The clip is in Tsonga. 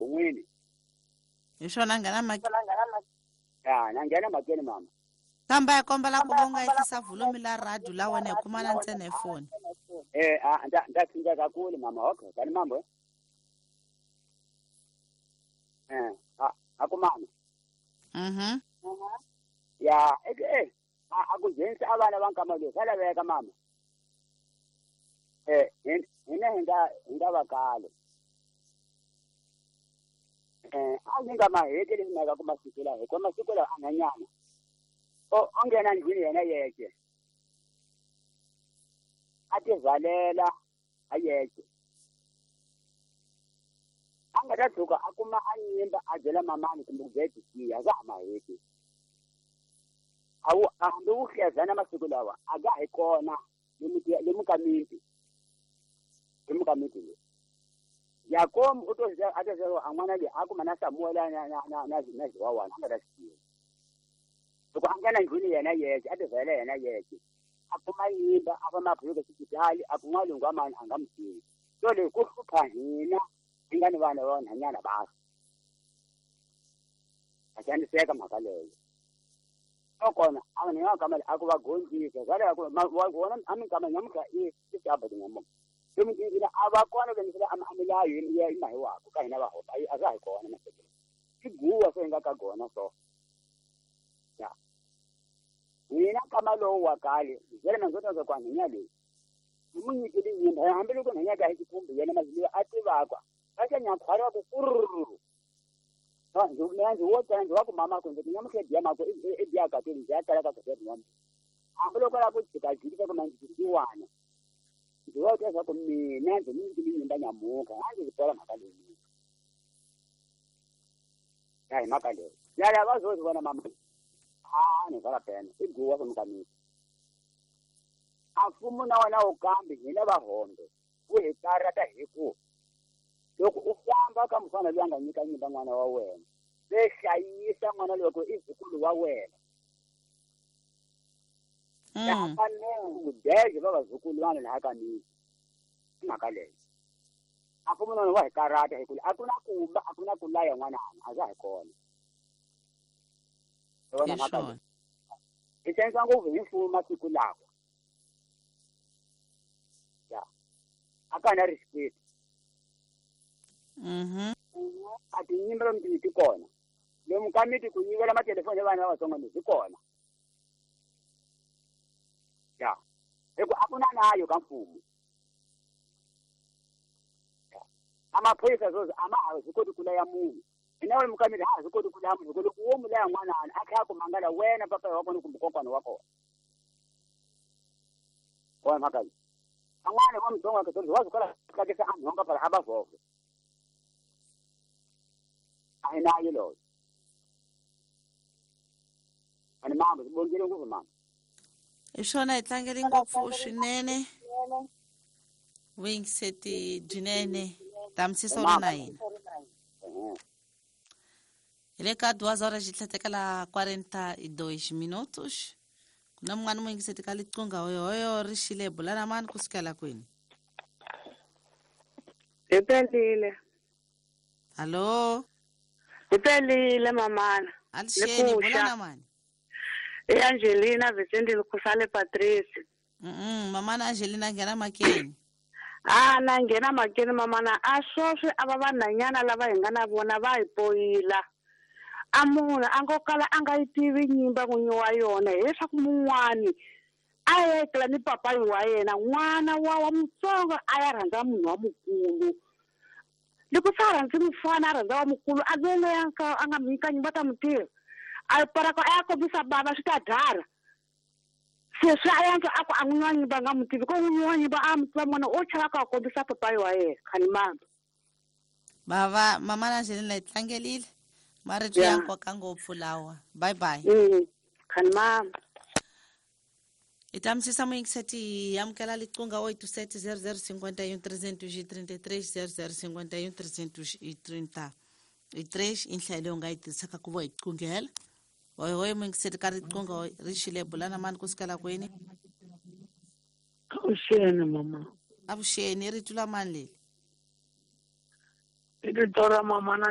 N'wini. Hi swona nghena mhakeni. Ya, na nghena mhakeni mama. Kambe ya kombela ku va u nga ehlisa volume la radio la wena hi kumana ntsena hi foni. Eh, a nda nda tsinda kakhulu mama. Okay, kani mambo. Eh, a akumana. Mhm. Ya, eh a ku nghenisa a vana va nkama lowu swa laveka mama. Eh, hina hi nga va kale. Eh, a ni nga maheti leswi mhaka ku masiku lawa hikuva masiku lawa a nhanyana. O o nghena ndlwini yena yexe. A tivalela a yexe. A nga ta tshuka a kuma a nyimba a byela mamani kumbe ku byela tikiya a ka ha maheti. A wu a hambi wu hlezana masiku lawa a ka hi kona lomu ka miti. Lomu ka miti leyi. Yakobo u to a to a n'wana loyi a kuma na Samuel na Ziwawana a nga ta swi tiva. Loko a nghena ndlwini yena yexe a tivalela yena yexe. A kuma nyimba a famba a phuluka xipitali a ku n'walungu wa mani a nga n'wi tivi. So leyi ku hlupha hina hi nga ni vana va vanhwanyana va a xaniseka mhaka leyo. So kona a vanhu va kama a ku va gondzisa swa ku wona a minkama nyamutlha i saba tinyamuka. Lomu tindlwini a va kona lomu a milayo ya mahiwako ka hina va hopa a swa hi kona masiku. I guwa se hi nga ka gona so. Ya. Hina nkama lowu wa kale byela mandzota ku nhwanya leyi. Hi mu nyikile nyimba hambiloko nhwanya ka hi xikumbi yena mazulu a tivaka. A xa nyakhwari wa ku kurr. Mina ndzi wo tala ndzi wa ku mama ku ndzi nyamutlha biya mako i biya ka ndzi ya tala ka ku biya. Hambiloko la ku jika jika ku manzi tiwana. Ndzi wa twa ku mina ndzi nyikile nyimba nyamuka a ndzi bola mhaka leyi. Ya hi mhaka leyi. Ya ya va zo vona mama. A ni vala pena i guwa ku mukamiti. A mfumo na wona wu kambi hina va hombe wu hi karata hi ku loko u famba ka mufana loyi a nga nyika nyimba n'wana wa wena se hlayisa n'wana loko i zukulu wa wena. Ya fanele ku deje va vazukulwana laha ka miti. I mhaka leyi. A mfumo na wona wa hi karata hi ku a ku na ku ba a ku na ku laya n'wana a swa hi kona. Hi mhaka leyi. Hi xanisa ngopfu hi mfumo masiku lawa. Ya. A ka na respect. Mhm. A tinyimba lomu ti kona. Lomu ka miti ku yivela matelefoni ya vana lavatsongo ni byi kona. Ya. Hi ku a ku na nayo ka mfumo. A maphorisa sweswi a ma ha swi koti ku laya munhu. Hina lomu ka miti ha ha swi koti ku laya munhu loko wo mu laya n'wana a tlhela a ku mangala wena papa wa kona kumbe kokwana wa kona. Wona mhaka leyi. Van'wana va mutsongo wa wa swi kota ku tlakisa a nhonga phela a va vhova. A hi nayo loyo. Ani mama swi bongile ngopfu mama. Hi swona hi tlangele ngopfu swinene. Vuyingiseti byinene tamisisa ri na hina. Hi le ka 2 horas tlhetekela 42 minutos. Ku na mun'wana muyingiseti ka liqunga hoyohoyo ri xile bulana mani kusukela kwini. Hi pelile. Hallo. Hi pelile mamana. Alixeni bulana mani. I Angelina Vicente Kusale Patrice. Mamana Angelina nghena makeni. A na nghena makeni mamana a sweswi a va vanhanyana lava hi nga na vona va hi poyila. A munhu a ngo kala a nga yi tivi nyimba n'winyi wa yona hileswaku mun'wani a ya etlela ni papayi wa yena n'wana wa mutsongo a ya rhandza munhu wa mukulu. Loko se a rhandzi mufana a rhandza wa mukulu a ve loyi a nga mi nyika nyimba ta mu tiva. A paraka a ya kombisa bava swi ta dara. Se swi a yantswa a ku a n'winyi wa nyimba a nga mu tivi ko n'winyi wa nyimba a mu tiva n'wana o chava ku a kombisa papayi wa yena khani mama. Bava mama na Angelina hi tlangelile. Marito ya nkoka ngopfu lawa. Bye bye. Khani mama. Hi ta misisa muyingiseti hi amukela liqunga 87 00 51 333 00 51 333 i nhlayo leyi u nga yi tirhisaka ku va hi qunghela. Hoyohoyo muyingiseti ka riqunga ri xile bulana mani kusukela kwini. Avuxeni mama. Avuxeni i rito la mani leli? I rito ra mama na